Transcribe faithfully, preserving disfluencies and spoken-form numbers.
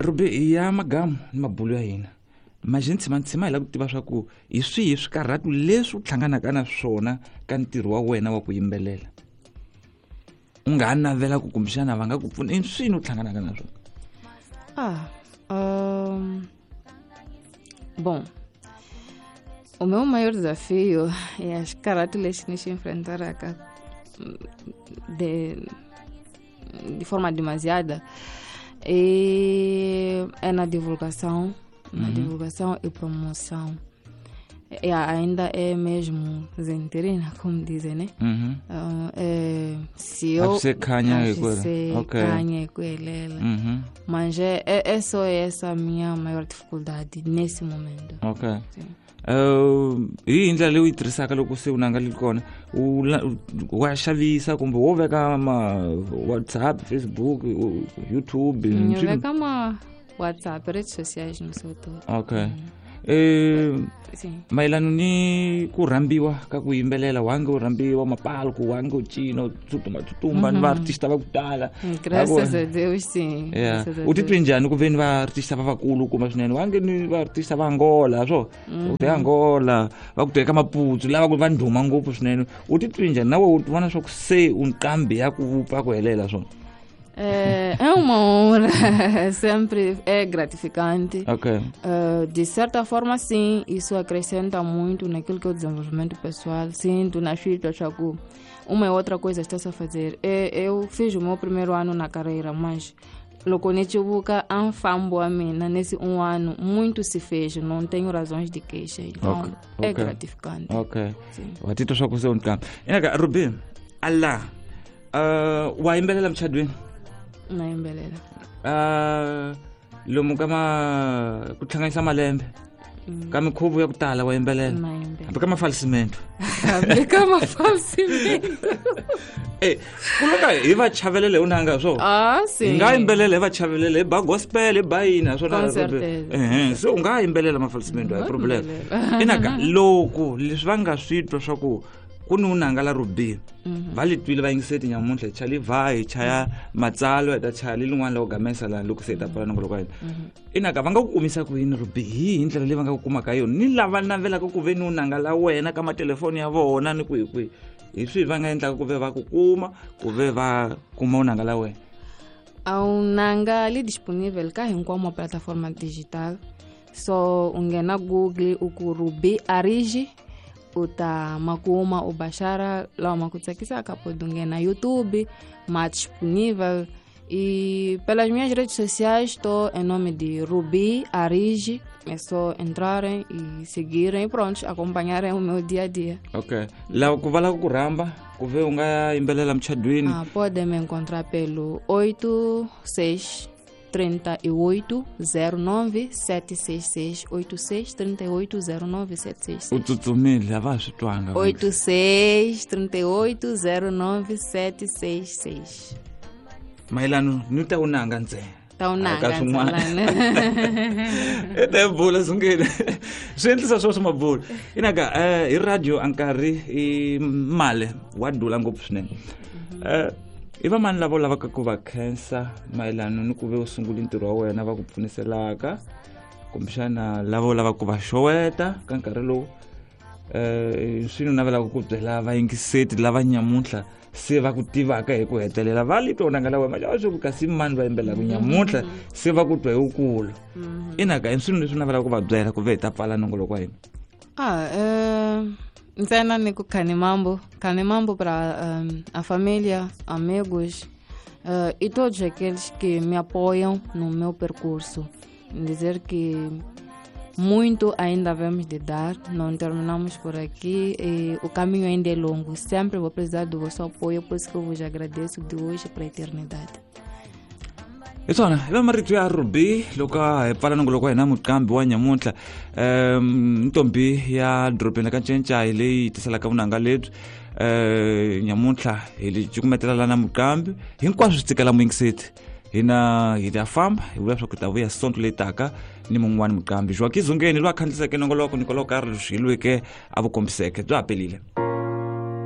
Ruby ya magamu ni mabulo ya hina majeni tshima tshima hi lava ku tiva swa ku hi swihi swikarhatu leswi u hlanganaka na swona ka ntirho wa wena wa ku yimbelela u nga ha navela ku kumbexana va nga ku pfuna i swini u hlanganaka na swona. Ah, um, bom, o meu maior desafio é as características que se enfrentar de, de forma demasiada e é na divulgação, na uhum. divulgação e promoção. E ainda é mesmo zenterina, como dizem, né? Uhum. Uh, é, se eu okay. Uhum. Mas é, é, é só essa a minha maior dificuldade nesse momento. Ok. Uh, hi ndlela leyi u yi tirhisaka loko se u nanga li kona u wa xavisa kumbe wo veka ma WhatsApp, Facebook, YouTube? Ni veka ma WhatsApp, redes sociais no seu todo. Ok. Eh, mayelana ni ku rhambiwa ka ku yimbelela wange u rhambiwa mapalku wange u cina u tsutsuma tsutsuma ni vaartista va ku tala. Graças a Deus, sim. Yeah. U titwe njhani ku veni vaartista va vakulu kuma swinene wange ni vaartista va Angola swo u te Angola va ku teka Maputsu lava ku va ndhuma ngopfu swinene u titwe njhani na we u vona swa ku se u nqambi ya ku vupfa ku helela swona? É, é uma honra, sempre é gratificante. Okay. Uh, de certa forma, sim, isso acrescenta muito naquilo que é o desenvolvimento pessoal. Sinto na fita, chaco, uma e outra coisa está-se a fazer. Eu fiz o meu primeiro ano na carreira, mas loko ni civuka a mfambo wa mina nesse um ano, muito se fez, não tenho razões de queixa. Então, okay. Okay. É gratificante. Ok. Wa titwa swa ku se u nqambi. Inaka Ruby, ala, uh, wa yimbelela muchadweni? Na yimbelela. Uh, lomu ka ma ku hlanganisa malembe mm. ka mikhuvo ya ku tala wa yimbelela hambi ka mafalsimento hambi ka mafalsimento eh ku loko hi va chavelele u nanga swo ah si hi nga yimbelela hi va chavelele hi ba gospel hi ba yini swona eh se u nga yimbelela mafalsimento a hi problem. Inaka loko leswi va nga swi twa swa ku ku ni unanga la Ruby va li twile va yingiseti nyamuntlha hi chali va hi chaya matsalwa hi ta chaya li lin'wana la ku gamesa laha loko se hi ta pfala nongoloko wa hina. Inaka va nga ku kumisa ku yini Ruby hi hi ndlela leyi va nga ku kumaka yona ni lava navelaka ku ve ni unanga la wena ka matelefoni ya vona ni kwihi kwihi hi swihi va nga endlaka ku ve va ku kuma ku ve va kuma unanga la wena? A unanga li disponível ka hinkwawo ma plataforma digital, so u nghena Google u ku Ruby Ariji u ta makuma u baixar lawa ma ku tsakisaka pode nghena YouTube ma disponível e pelas minhas redes sociais estou em nome de Ruby Ariji, é só entrarem e seguirem e pronto, acompanharem o meu dia a dia. Ok. Lá ku va lava ku rhamba ku ve u nga yimbelela muchadweni? Ah, podem me encontrar pelo oito seis trinta e oito zero nove sete seis seis oito seis trinta e oito zero nove sete seis seis. U tsutsumile a va swi twanga. oito seis trinta e oito zero nove sete seis seis. Mayelano ni ta unanga ntsena. Ta unanga ntsena. E ta bula sungile. Swi endlisa swo swa mabulu. Inaka eh hi radio a nkarhi i male wa dula ngopfu swinene. Eh i va mani lava lavaka ku va khensa mayelana ni ku ve u sungula ntirho wa wena va ku pfuniselaka kumbexana lava lavaka ku va xoweta ka nkarhi lowu eh swi ni navelaka ku byela vayingiseti lava nyamuntlha se va ku tivaka hi ku hetelela va li twa unanga la wena va swi ku kasi mani va yimbelaka nyamuntlha se va ku twa hi wukulu. Inaka i swilo leswi navelaka ku va byela ku ve hi ta pfala nongoloko wa hina? Ah, eh ntsena ni ku Khanimambo, Khanimambo para um, a família, amigos uh, e todos aqueles que me apoiam no meu percurso. Dizer que muito ainda vamos de dar, não terminamos por aqui e o caminho ainda é longo. Sempre vou precisar do vosso apoio, por isso que eu vos agradeço de hoje para a eternidade. Hi swona i va marito ya Ruby loko hi pfala nongoloko wa hina muqambi wa nyamuntlha um ntombi ya dorobeni ka Ncencai leyi tiselaka vunanga lebyi um nyamuntlha hi li cukumetela na muqambi hinkwaswo swi tsikela muyingiseti hina hi ta famba hi vula swa ku ta vuya sonto leyi taka ni mun'wani muqambi Joaquim Zungeni loyi a khandziyiseke nongoloko Nicolau Carlos hi lweke a vu kombiseke bya ha pelile.